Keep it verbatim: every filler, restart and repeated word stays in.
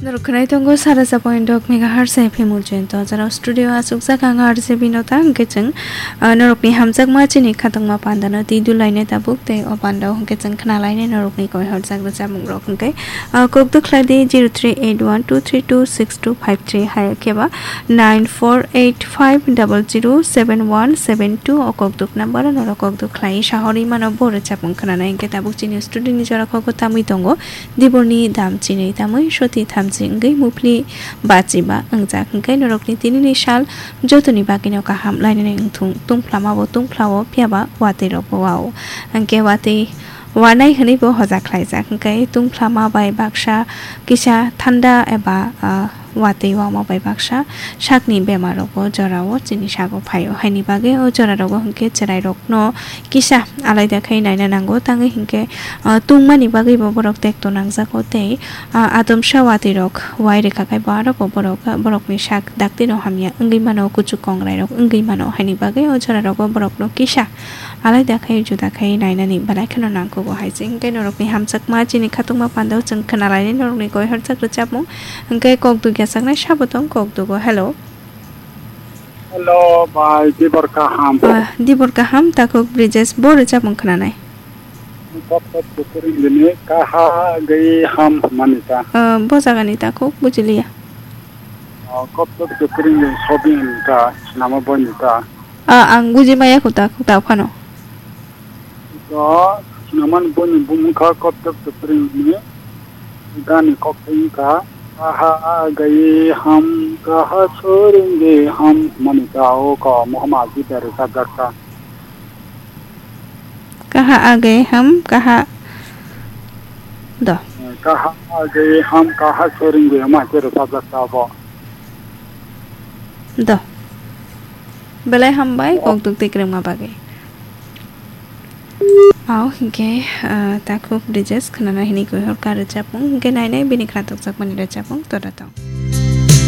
Khwnai tongo sara sa point dok megahertz F M Ujjain to, jara studio asukjak ang R J Binota, hwnkhe chwng, ah, norokni hamjakma chini khatungma pandano twi dulaina tabuk tei o pandao hwnkhe chwng khwnalainai norokni koi horjak rwchapmungrok hwnkhe, ah, kok dukhlai di zero three eight one two three two six two five three hai khe ba nine four eight five double zero seven one seven two o kok duk number o norok kok dukhlai sahorwi mano bo rwchapmung khwnanai hwnkhe tabuk chini studio ni jora kok o tamwi tongo. Diborni dam chinwi tamwi soti thamchi wngwi muphli bachiba wngjak hwnkhe norokni tinini sal jotoni bagwino kaham lainani wngthung. Tungphlama bo tungphlao phiyaba watwi rokbo wao. Hwnkhe watwi wanai hwnwi bo hoja khlaijak hwnkhe tungphlama bai baksa kisa thanda eba, ah, watwi wama bai baksa sakni bemar rokbo jorao chini sago phaio. Haini bagwi o jora rogo hwnkhe chwrai rokno kisa alaida khai naina nango, tangwi hinkhe, ah, tungmani bagwi bo borok tekto nangjago tei, ah, atomsa watwi rok wai rwkha khai bo aro bo borok, borokni sak daktino hamya wngwi mano, kuchuk kongrai rok wngwi mano, haini bagwi o jora rogo borokno kisa alaida khai juda khai nainani belai kheno nangkugo hai se. Hinkhe norokni hamjakma chini khatungma pandao chwng khwnalainai norokni koi horjak rwchapmung hinkhe kok dugya saknai sabo tong kok dugo. Hello. Hello, bai, dibor kaham. Ah, dibor kaham, takhuk Brijesh, bo rwchapmung khwnanai. Kok kok kukuring dini, kaha gei ham manita. Ah, bo jagani takhuk, bujiliya. Ah, kok kok kukuring dini, sobin ka, sinama boy nita. Ah, ang buji maya kho takhuk, ta phano. To, sinaman boni bumung kha kottok topring ni gani kok teng kha. Kaha agai ham, kaha soring de ham, mani ka o ka mohama ji dari sajak ka. Kaha agai ham, kaha do. Kaha agai ham, kaha soring de ma kero sajak ka bo. Do. Belai hambai, kok duk tei kwrwngma bagwi. Au hinkhe, ah, takhuk Brijesh khwnana hinwi kuihor ka rwchapmung, hinkhe nainai bini khna tokjakmani rwchapmung, tora tong.